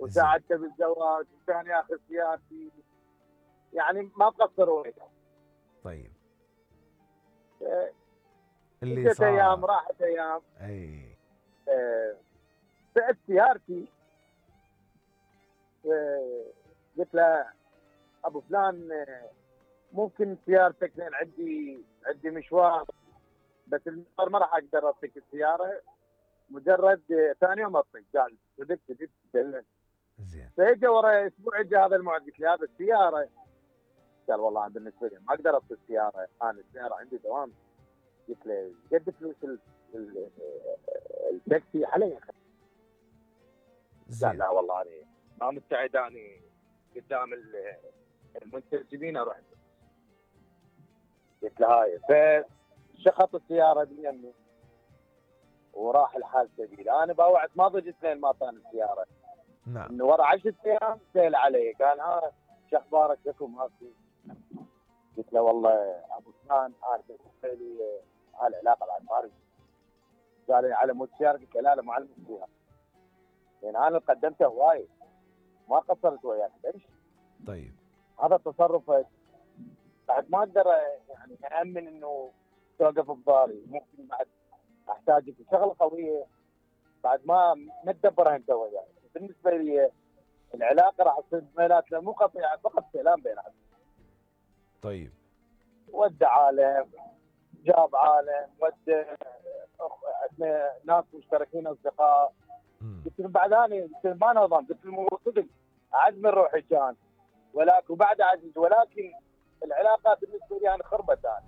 وساعدته بالزواج وكان ياخذ سيارتي، يعني ما مقصر وياه. طيب اللي صار ايام راحت ايام. اي بعت سيارتي، قلت له ابو فلان ممكن سيارتك، لان عندي مشوار، بس المشوار ما راح اقدر اعطيك السياره، مجرد ثاني يوم اعطيك. قال صدقت زين. فاجى ورا اسبوع اجى هذا الموعد، قلت له هذا السياره. قال والله انا بالنسبه لي ما اقدر اعطي السياره، انا السياره عندي دوام. قلت له قد فلوس التاكسي علي؟ قال لا والله انا ما مستعد، انا قدام المنتسبين اروح. قلت له هاي، فشخط السياره بيمي وراح الحال سبيل. انا باوعت ما ضجت لين ما طان السياره. نعم. انه ورا 10 ايام سال علي، قال ها شو اخبارك لكم ماكو؟ قلت له والله ابو فلان انا بالنسبه لي هالعلاقه بعد ما ارجع. قال لي على مود سيارة؟ قلت له لا مو على مود سيارة، لان انا قدمته هواي ما قصرت وياك ليش؟ طيب هذا التصرف بعد ما اقدر يعني اامن انه توقف بضاري، ممكن بعد احتاجك شغله قويه بعد ما تدبرها انت وياي. بالنسبه لي العلاقه راح تصير بيناتنا مو قطيعه، فقط كلام بيناتنا. طيب ودع عالم جاب عالم، ود ناس مشتركين اصدقاء. قلت له بعد انا قلت له ما نظام، قلت له صدق اعز من روحي كان، ولكن وبعد عزيز، ولكن العلاقه بالنسبه لي انا خربت. انا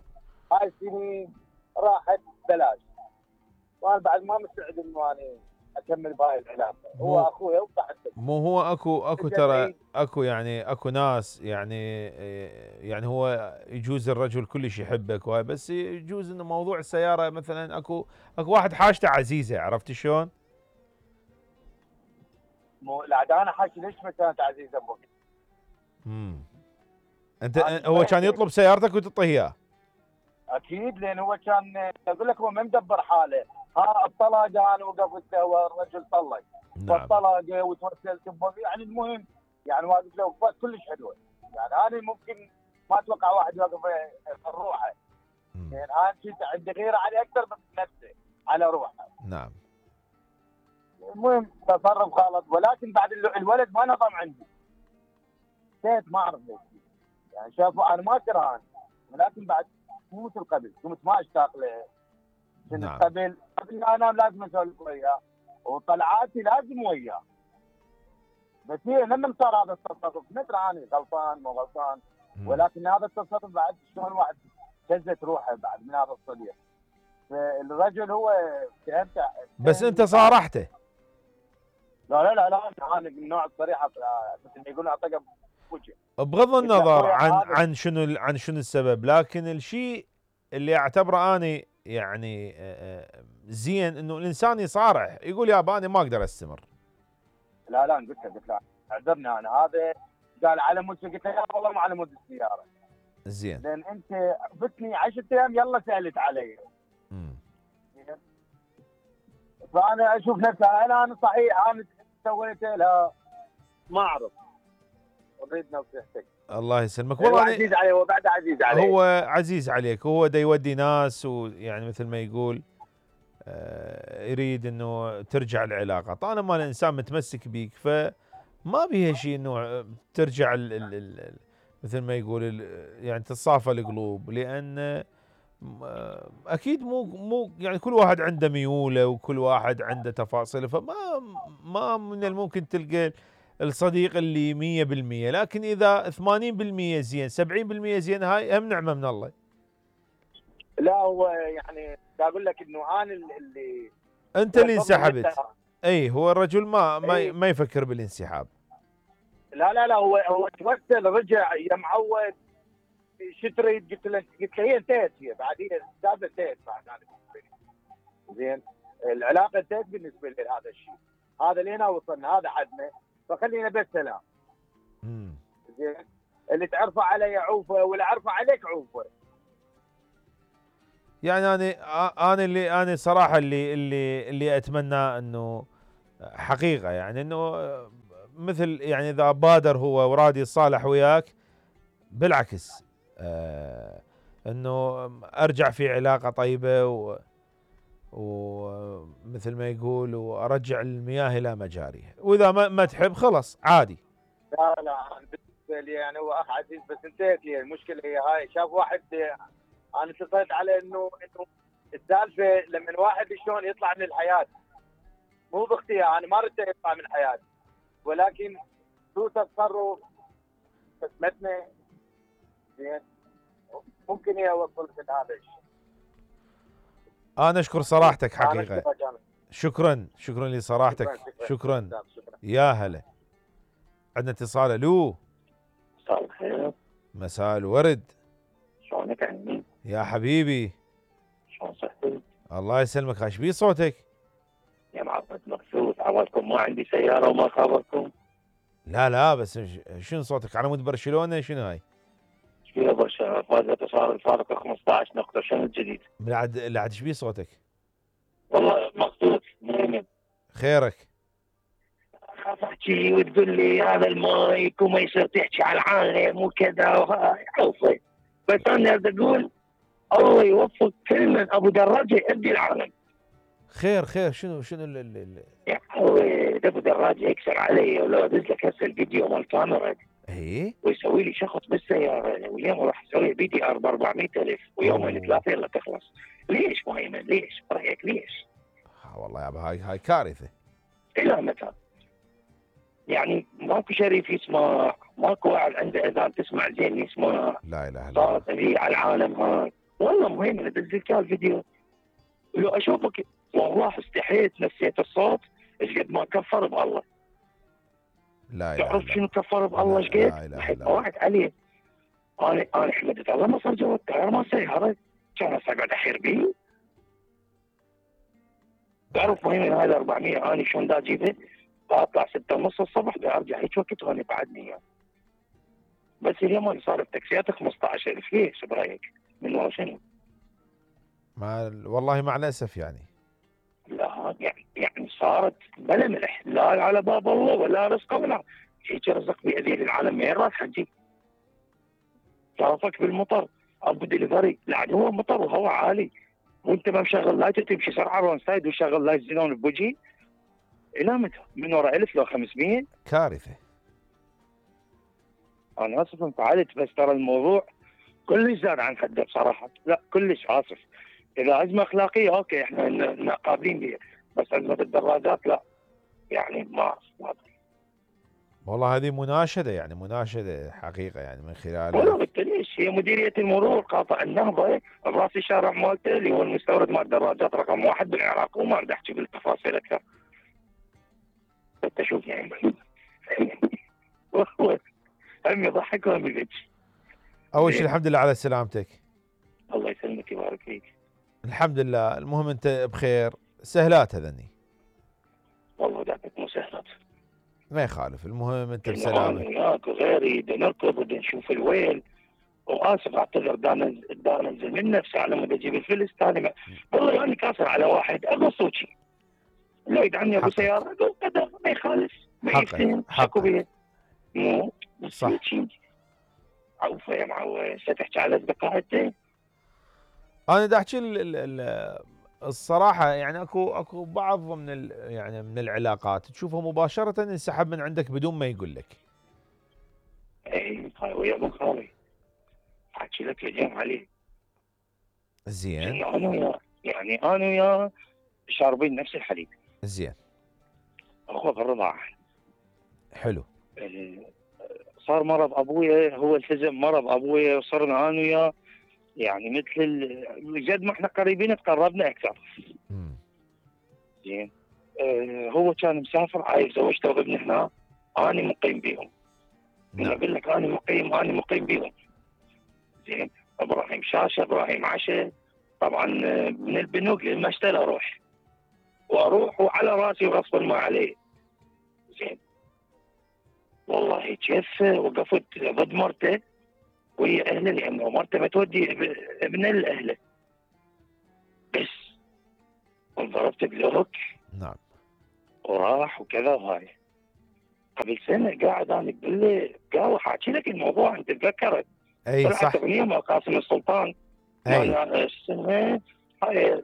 هاي السنين راحت بلاش، وانا بعد ما مستعد انه انا اكمل بهاي العلاقه. هو اخويا وبعد مو هو اكو ترى اكو يعني اكو ناس يعني هو يجوز الرجل كلش يحبك وهاي، بس يجوز انه موضوع السياره مثلا اكو واحد حاجته عزيزه، عرفت شلون؟ مو لا انا حاجتي ليش ما كانت عزيزه ابوك؟ انت هو كان يطلب سيارتك وتعطيه اياه؟ اكيد، لان هو كان اقول لك هو ما مدبر حاله. ها الطلاق انا وقفت له والرجل طلق. نعم. فالطلاق وتوسلت يعني المهم يعني واقف له وقفات كلش حلوه. يعني انا ممكن ما اتوقع واحد يوقف روحه، يعني انا كنت عندي غيره عليه اكثر من نفسه على روحه. نعم. المهم تصرف غلط، ولكن بعد الولد ما نظم عندي. نسيت ما اعرف ليش، يعني شافوا انا ما كرهان، ولكن بعد مو مثل قبل، كنت ما اشتاق له. نعم. قبل انا لازم اسولف وياه وطلعاتي لازم وياه. بس هي لما صار هذا التصرف ندري انا غلطان مو غلطان، ولكن هذا التصرف بعد شلون الواحد شزت روحه بعد من هذا الصديق. فالرجل هو فهمت، بس انت صارحته؟ لا انا من النوع الصريحه، مثل ما يقولون اعطيك بوجه. بغض النظر عن شنو السبب، لكن الشيء اللي اعتبره انا يعني زين انه الانسان يصارح، يقول يابا انا ما اقدر استمر. لا قلت له اعذرني انا هذا. قال على مود، قلت له والله ما على مود السياره. زين. لان انت فتني 10 ايام يلا سالت علي. فانا اشوف نفسي انا صحيح انا سويته، لا ما اعرف. اريد نصيحتك. الله يسلمك. والله عزيز عليه، هو بعد عزيز عليه. هو عزيز عليك، هو دا يودي ناس، ويعني مثل ما يقول يريد انه ترجع العلاقه. طالما الانسان متمسك بيك فما بيها شيء انه ترجع مثل ما يقول يعني تتصافى القلوب، لان اكيد مو يعني كل واحد عنده ميوله وكل واحد عنده تفاصيله، ما من الممكن تلقى الصديق اللي 100%، لكن اذا 80% زين 70% زين هاي هم نعمه من الله. لا هو يعني اقول لك انه انا اللي انت اللي انسحبت. اي هو الرجل ما يفكر بالانسحاب. لا هو توسل رجع يا معود شو تريد؟ قلت له هي انتهت، هي بعدين السالفه انتهت بعد. زين العلاقه انتهت بالنسبه لي هذا الشيء، هذا لينا وصلنا، هذا حدنا، فخلينا بس سلام. زين اللي تعرفه علي عوفه واللي اعرفه عليك عوفه. يعني انا صراحه اللي اتمنى انه حقيقه يعني انه مثل يعني اذا بادر هو وراد يتصالح وياك بالعكس انه ارجع في علاقة طيبة ومثل ما يقول وارجع المياه الى مجاريها، واذا ما تحب خلص عادي. لا لا، أنا بالنسبه لي يعني هو اخ عزيز، بس انتهت لي المشكله هي هاي. شاف واحد، انا اتصلت على انه السالفه لما واحد شلون يطلع من الحياه مو باختيار، انا ما ردت يطلع من حياتي، ولكن سوء تصرف خدمتنا زين ممكن يوصل لهذا الشيء. انا اشكر صراحتك حقيقة. أنا شكرا لصراحتك. شكرا. يا هلا. عندنا اتصال. الو. مساء الخير. مساء الورد. شلونك عمي؟ يا حبيبي شلون صحتك؟ الله يسلمك. ايش بيه صوتك؟ يا معبد مبسوط، عوضكم ما عندي سيارة وما خابركم. لا بس شنو صوتك على مود برشلونة؟ شنو هاي؟ شبيه برشلونة فازت صار الفارق 15 نقطة، شنو الجديد؟ لعد ايش بيه صوتك؟ والله مبسوط مهمة. خيرك؟ خاف احكي وتقول لي هذا المايك وما يصير تحكي على العالم وكذا وهاي عوصي، بس انا بدي اقول الله يوفق كل من ابو دراجة يؤدي العالم. خير شنو يا حوي ابو دراجة يكسر علي، ولو ادز لك هسه الفيديو مال كاميرا ايه ويسوي لي شخص بالسياره، واليوم راح اسوي بي دي ار ب 400,000 ويومين ثلاثه الا تخلص. ليش مهيمن؟ ليش؟ رايك ليش؟ والله يابا هاي كارثه. الى متى؟ يعني ماكو شريف يسمع، ماكو واحد عنده اذان تسمع زين يسمع. لا اله الا الله. صارت هي على العالم هاي. والله مهيمن ادز لك الفيديو لو اشوفك والله استحيت نسيت الصوت ايش قد ما كفر بالله. لا تعرف شنو كفر بالله ايش قد؟ واحد عليه. انا حمدت الله ما صار جوا التاير ما سيارة، كان اقعد احير بيه. تعرف مهم هاي 400 انا شلون دا اجيبها؟ اطلع 6:30 الصبح ارجع هيك وقت وانا بعدني اياه. بس اليوم انا صار التاكسيات 15,000. ليش برايك؟ من ورا شنو؟ والله مع الاسف يعني. لا يعني صارت بلا ملح، لا على باب الله ولا رزق ولا هيك رزق بيدين العالم وين راح تجي؟ صرفك بالمطر ابو دليفري لعد هو مطر وهواء عالي وانت ما مشغل لايت تمشي سرعه رون سايد وشغل لايت زينون بوجهي. الى متى؟ من ورا 1000 لو 500 كارثه. انا اسف انفعلت، بس ترى الموضوع كلش زاد عن حده بصراحه. لا كلش اسف. اذا ازمه اخلاقيه اوكي احنا قابلين بها، بس ازمه الدراجات لا. يعني ما والله هذه مناشده حقيقه يعني من خلال. والله بالتليش هي مديريه المرور قاطع النهضه براسي الشارع مالته اللي هو المستورد مال الدراجات رقم 1 بالعراق، وما بدي احكي بالتفاصيل اكثر. انت شوف يعني والله هم يضحك وهم يبكي. اول شيء الحمد لله على سلامتك. الله يسلمك ويبارك فيك. الحمد لله. المهم انت بخير. سهلات هذني. والله دعتك مو سهلات. ما يخالف، المهم انت بسلامه. انا وياك وغيري بدنا نركض بدنا نشوف الويل. واسف اعتذر دا انزل من نفسي على مود اجيب الفلس ثاني. والله يعني كاسر على واحد اقول صوتي لو يدعمني ابو سياره اقول قدر ما يخالف ما يفتهم حقه بيه. مو صح. عوفه يا معود ستحكي على اصدقائك. انا دا احكي الصراحه يعني اكو بعض يعني من العلاقات تشوفه مباشره انسحب من عندك بدون ما يقول لك. اي هاي ويا ابو خالي احكي لك يا جماعه عليه. زين. يعني انا وياه شاربين نفس الحليب. زين. اخوه في الرضاعه. حلو. صار مرض ابويا، هو التزم مرض ابويا وصرنا انا وياه يعني مثل جد ما احنا قريبين تقربنا اكثر. زين. هو كان مسافر عايز زوجته وابن هنا، انا مقيم بيهم. نعم. اقول لك انا مقيم بيهم. زين. ابراهيم شاشه ابراهيم عشاء طبعا من البنوك للمشتل اروح وعلى راسي وغصبا ما عليه. زين. والله كيف وقفت ضد مرته وهي اهله لانه مرته ما تودي ابن الاهله بس وضربت بلوك. نعم. وراح وكذا وهاي. قبل سنه قاعد انا قال حاكي لك الموضوع انت تذكرت. اي طلعت صح. اغنيه مال قاسم السلطان اي السنه هاي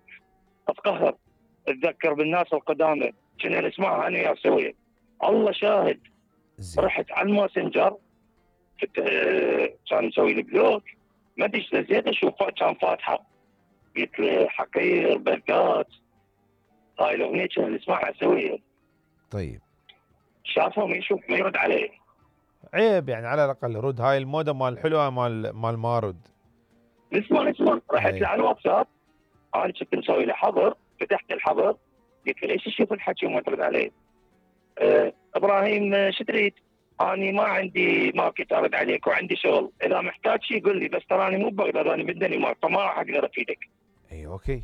اتقهر اتذكر بالناس القدامى كنا نسمعها انا يا سويه. الله شاهد زين. رحت على الماسنجر كان مسوي لي بلوك ما ادري ايش نزلت اشوف كان فاتحه قلت له حقير بركات هاي الاغنيه كنا نسمعها سويه. طيب شافه ما يشوف ما يرد عليه. عيب يعني على الاقل رد هاي الموده مال حلوه مال ما رد. نسمع رحت له على الواتساب انا كنت مسوي له حظر فتحت الحظر قلت له ليش تشوف الحكي وما ترد عليه؟ ابراهيم شو تريد؟ اني ما عندي ماركت ارد عليك وعندي شغل اذا محتاج شيء قل لي بس تراني مو ببغداد انا بالدنمارك فما راح اقدر افيدك. اي اوكي.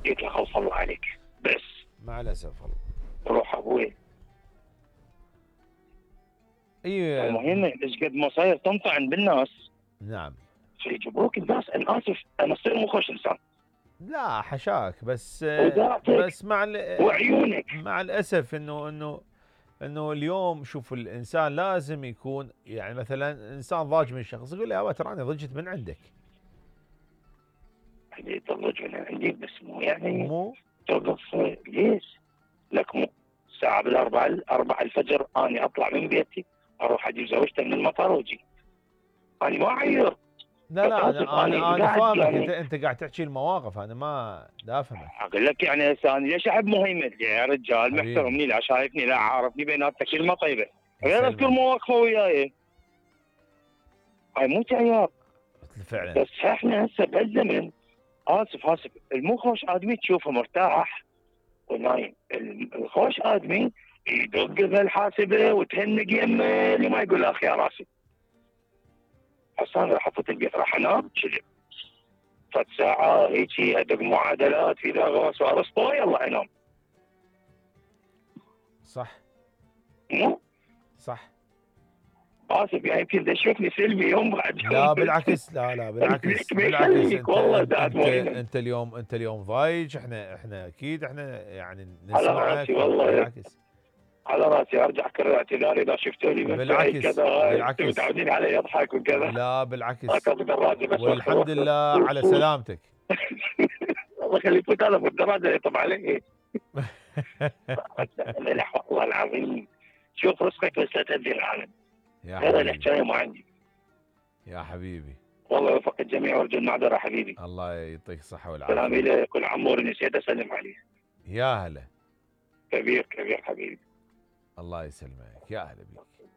قلت له خلص الله عليك بس مع الاسف والله. روح ابوي. اي المهم ايش قد ما صاير تنطعن بالناس. نعم. يجبروك الناس انا اسف انا اصير مو خوش انسان. لا حشاك بس وداعتك مع وعيونك. مع الاسف انه اليوم شوف الانسان لازم يكون يعني مثلا انسان ضاج من شخص يقول له يا تراني ضجت من عندك. اللي تضج من عندي بس مو يعني مو توقف ليش؟ لك مو الساعة بالأربعة الفجر أنا أطلع من بيتي أروح أجيب زوجتي من المطار وأجي. أنا ما أعير. لا انا فاهمك يعني انت قاعد تحكي المواقف انا ما دا افهمك. اقول لك يعني هسه انا ليش احب مهيمن يا رجال حبيبي. محترمني لا شايفني لا عارفني بيناتنا كلمه طيبه غير يسلمك. اذكر مواقفه وياي هاي مو تعيار فعلا. بس احنا هسه بهالزمن اسف المو خوش ادمي تشوفه مرتاح ونايم الخوش ادمي يدق بالحاسبه وتهنق يمه اللي ما يقول اخ يا راسي. هسه انا راح افوت البيت راح انام شلب فت ساعه هيجي ادق معادلات اذا غوص وارسطو يلا انام. صح مو صح. اسف يعني يمكن تشوفني سلبي يوم بعد يوم. لا بالعكس لا بالعكس بالعكس انت اليوم ضايج احنا اكيد احنا يعني نسمعك بالعكس. على راسي ارجع كرر اعتذاري اذا شفتوني بالعكس بالعكس متعودين علي اضحك وكذا. لا بالعكس والحمد لله على سلامتك. الله يخلي يفوت هذا بالدرجه يطب عليه. والله العظيم شوف رزقك بس لا تدري العالم. هذا الحكايه ما عندي يا حبيبي. والله يوفق الجميع وارجو المعذره حبيبي. الله يعطيك الصحه والعافيه. سلامي لك والعمور نسيت اسلم عليه. يا هلا. كبير حبيبي. الله يسلمك يا هلا بيك.